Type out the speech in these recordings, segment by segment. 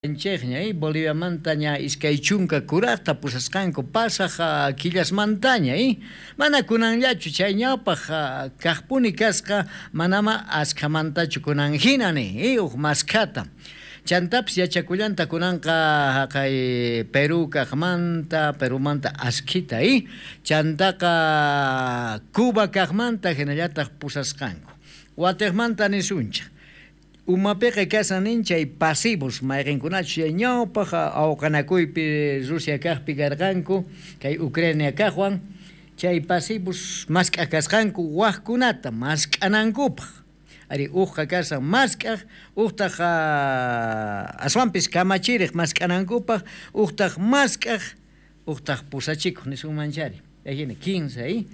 Chejña, Boliviamanta ña 20 kurajta pusasqanku pasaj killasmantaña, mana kunanllachu chay ñawpaj kajpuni kasqa, manama askhamantachu kunan jina ni, uj maskhata. Chantapis yachakullanta kunanqa jaqay Perú kajmanta, Perumanta askhita, chantaqa Cuba kajmanta jinallataj pusasqanku. Watejmanta nisunchej. Umapiqa kashan nin chay pasivos mayqenkunachus chay ñawpaj awqanakuypi Rusia kajpi karqanku, kay Ucrania kajwan, chay pasivos mask'aj kasqanku wajkunata mask'anankupaj. Ari ujqa kashan mask'aj, ujtaj aswanpis kamachirej mask'anankupaj, ujtaj mask'aj, ujtaj pusachikuj nisunmanchari. Ajina 15,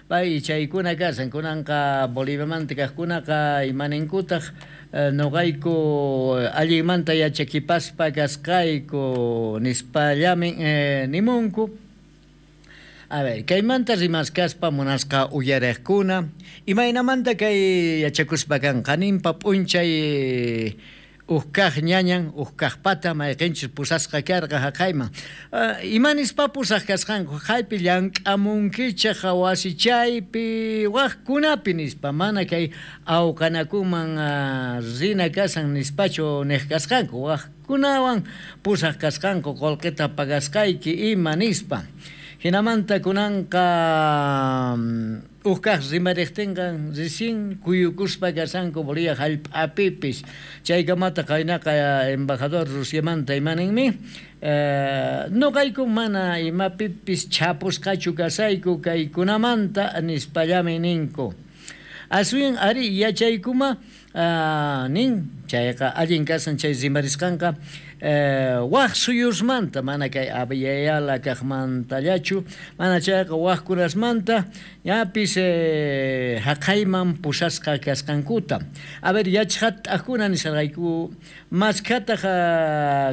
pay chaykuna kashan kunanqa Boliviamanta kajkunaqa imaninkutaj noqayku allinmanta yachakipaspa kasqayku nispallamin nimunku. A ver, kaymanta rimaskaspa munasqa uyarejkuna, imaynamanta kay yachakuspa kanqa ninpa p'unchay uj kaj ñañan, uj kajpata mayqinchus pusasqa karqa jaqayman. Ima nispa pusaq kasqanku, jaypi llank'amunkichej wasichaypi wajkunapi nispa, mana kay awqanakuman rina kasan nispachu nej kasqanku, wajkunawan pusaq kasqanku qolqeta pagasqayki ima nispa. Jinamanta kunanqa uj kaj rimarejtinqa recién kuyukuspa kashanku Bolivia jallp'apipis. Chaykamata qaynaqa embajador Rusiamanta imaninmi, noqayku mana imapipis chhapusqachu kasayku kaykunamanta nispallami ninku. Aswan ari yachaykuma nin chayqa allin kasan chay rimarisqanqa waj suyusmanta mana kay Abya kajmantallachu, mana chayqa wajkunasmanta ñapis jaqayman pusasqa kasqankuta. A ver, yachaqat'ajkuna nisqayku maskhataq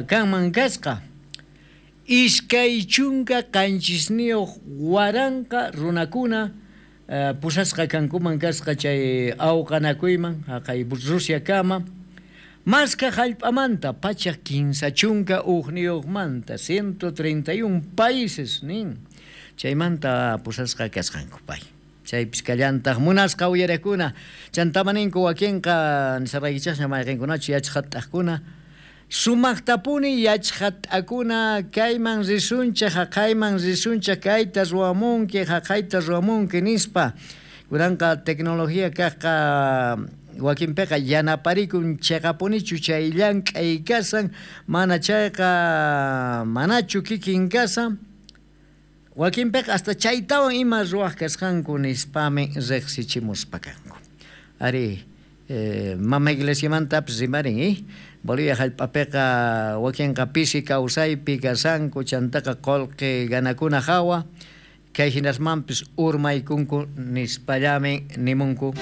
kanman kasqa. 27,000 runakuna pusasqa kankuman kasqa chay awqanakuyman jaqay Rusia kama. Maska jallp'amanta 131manta 131 países nin chaymanta pusasqa kasqanku pay. Chaypis kallantaq munasqa uyarekuna chantamaninku wakinqa nisaraykichaqña mayqinkunachu yachaqat'ajkuna sumaqtapuni yachaqat'akuna kayman risunchej jaqayman risunchej kayta ruwamunki jaqayta ruwamunki nispa. Kunanqa tecnología kajqa wakinpiqa yanaparikun cheqapunichu chay llank'ay kasan, mana chayqa manachu kikin kasan, wakinpiqa hasta chaytawan ima ruwaj kasqanku nispami riqsichimuspa kanku. Ari, mama iglesiamantapis rimarin, Bolivia jallp'apiqa wakinqa pisi kawsaypi kasanku, chantaqa qolqe ganakuna hawa, kay hinasmanpis urmaykunku nispallami nimunku.